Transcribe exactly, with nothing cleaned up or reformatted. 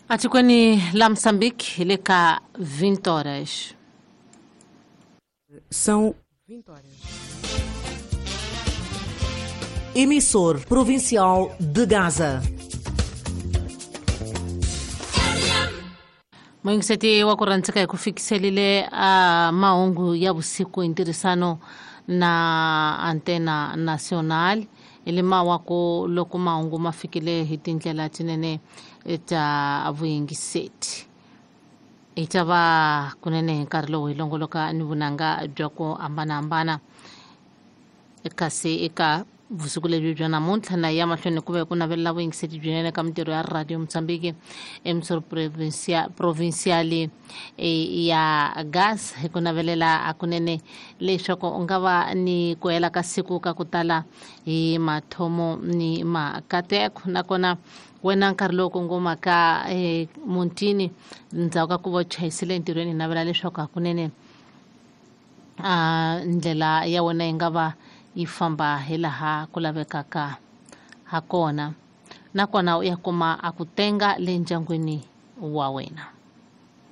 Atikweni la Moçambique hi le ka vinte horas. São vinte horas. Emissor Provincial de Gaza. Muyingiseti wa ku rhandzeka hi ku fikiselile a mahungu ya vusiku hi ntirhisano na Antena Nacional hi le mawaku loko mahungu ma fikile hi tindlela tinene ta vuyingiseti. Hi ta va kunene hi nkarhi lowu hi longoloka ni vunanga bya ku hambanahambana, kasi eka vusiku lebyi bya namuntlha na ya mahlweni ku ve ku navelela vuyingiseti byinene ka mintirho ya Radio Mozambique emisoro provincial ya Gas hi ku navelela hakunene leswaku u nga va ni ku hela ka siku ka ku tala hi mathomo ni makateko. Nakona wena nkarhi lowu kongomaka muntini ndzhaku ka ku va u chayisile entirhweni, hi navela leswaku hakunene a ndlela ya wena yi nga va yi famba hi laha ku lavekaka ha kona, nakona u ya kuma a ku tenga le ndyangwini wa wena.